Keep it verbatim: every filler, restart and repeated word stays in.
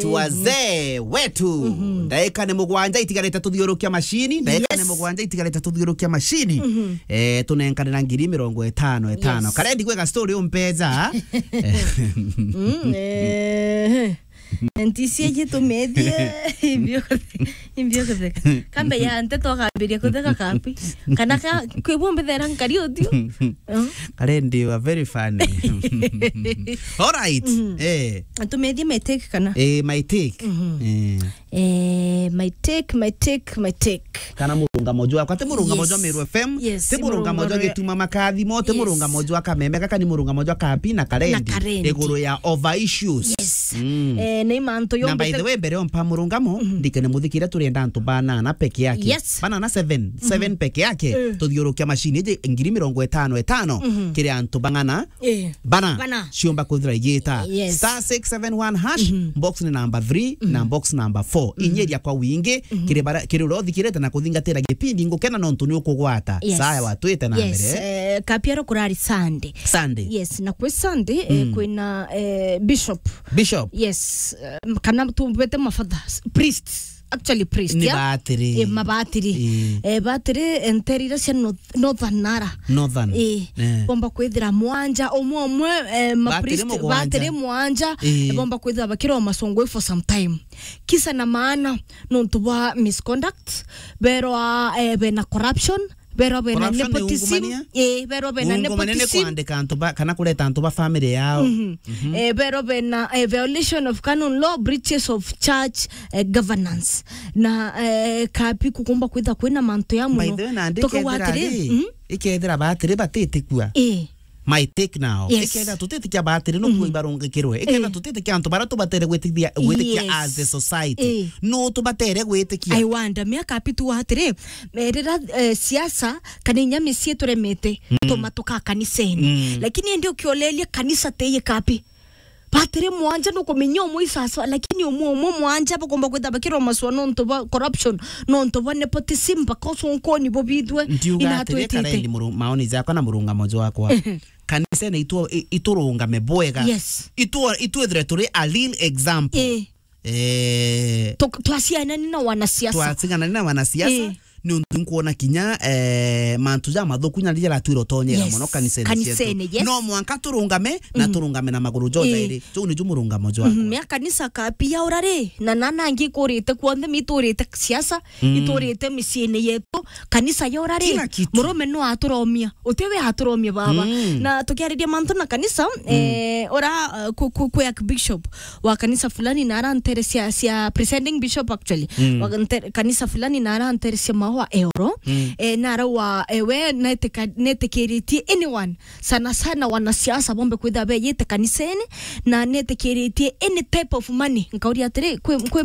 Tuwazee wetu. Mhm. Ndaika ni mugwanja itigarite tuthiurukia mashini. Ndaika ni Yes. mugwanja itigarite tuthiurukia mashini. Mhm. Eh, tunenkanira ngiri mirongo itano, itano. Yes. Karendi gweka story umpeja. Mm, eh. Ntisi iji tumethie. Imbio, imbio kutheka. Kambe ya nte twakambiria kutheka kapi. Kana ka, kwi bumbi thera nkari utio. Mm. Karendi, you are very funny. All right. Mhm. Eh. Tumethie my take kana? Eh, my take. Mhm. Eh. Eh, my take, my take, my take. Kana murungamo jwakwa. Ti murungamo Yes. jwa Meru F M. Yes, Ti si murungamo murungamo jwa jwa Gituma Makathimo. Ti Yes. murungamo jwa Kameme. Kaka ni murungamo jwa Kapi na Karendi. Na Karendi. Iguru ya over issues. Yes. Mm. Eh, ni mantu Na by yombete the way, mbere ompa murungamo, Mhm. ndikene muthikire, turenda antu banana peke yake. Yes. Banana seven. Mhm. Seven peke yake. Eh. Tuthiurukia mashini iji ngiri mirongo itano itano Mhm. kiri antu bang'ana Eh. bana. Bana. Ciumba kwithira igita. Yes. Star six seven one hash, Mhm. box ni number three Mhm. na box number four. Mhm. Inyeria kwa wingi, Mhm. kiri bara-, kiri uria uthikirite na kuthingatira gipindi, ngukena nontu ni ukugwata. Yes. Saya watwite na Yes. mbere. Eh, Kapiaro kurari Sunday. Sunday. Yes, na kwi Sunday, eh, Mm. kwina, eh, Bishop. Bishop. Yes, eh, kana tumbete mafathers, priests. Actually priest, Ni ya? batiri. Eh, mabatiri. Eh. Eh, batiri, eh, ntere iria cia North-, Northern Nara. Northern. Eh, Eh. bomba kwithira mwanja, umwe umwe, eh, ma Batiri priest, mugwanja. batiri mwanja, Eh. eh, bomba kwithira bakirwa masongwe for some time. Kisa na maana, nontu bwa misconduct, berwa, eh, bena corruption, berwa bena Corruption ni nepotism. ungumania? Eh, berwa bena Ungumania ni nepotism. kwandika antu ba, kana kureta antu ba family yao. Mhm. Mhm. Eh, berwa bena, eh, violation of canon law, breaches of church, eh, governance. Na, eh, Kapi kukumba kwitha kwina mantu ya By muno. the way, nandi Tukauga ikethira atiri, ri, mhm. ikethira batiri batitikua. Eh. My take now. Yes. Ikethira tutitikia batiri no Mhm. kuo ibarungikirwe. Ikethira Eh. tutitikia antu bara tubatere gwitikia, gwitikia Yes. as the society. Eh. No tubatere gwitikia. I wonder, miaka api tu atiri, eh, rira, eh, siasa kana inya micii turemete, Mm. tuma tuka kanisene. Mm. Lakini indi ukiolelia kanisa teye Kapi. Batiri mwanja nukumenya umwe isasa, lakini umwe umwe mwanja bakomba kwitha bakirwa maswa nontu bwa corruption, nontu bwa nepotism, bakosa unkoni bubithwe. Ndiuga atiri, inatwitite. Karendi muru-, maoni jakwa na murungamo jwakwa. Kanisene itu-, i-, iturungame bwega. Yes. Itu-, itwithire turi a real example. Eh. Eh. Tuk-, twasianani na wanasiasa. Twasiganani na wanasiasa. Eh. Ni untu nkuona kinya, eh, mantu ja mathuku nya riria ratwira utonyera Yes. muno kanisene Kanisene, cietu. Yes. No mwanka turungame na Mm. turungame na maguru jo Eh. jairi. Juu niju murungamo jwakwa. Mhm, mea kanisa Kapi yaura ri, na nana angi ikurite kuonthe, miturite siasa, Mm. iturite miciine yetu, kanisa yaura ri, Kila kitu. murume no aturomia, uti we aturomia baba. Mm. Na tukiariria mantu na kanisa, Mm. eh, ura, eh, ku-, ku-, kwi archbishop wa kanisa fulani na aranterecia, cia presiding bishop actually, Mm. wa nte-, kanisa fulani na aranterecia maua eoro, Mm. eh, na arauga, eh, we netika-, netikiritie anyone, sana sana wanasiasa bombe kwitha beyite kanisene, na netikiritie any type of money. Nkauria atiri, kwi, kwi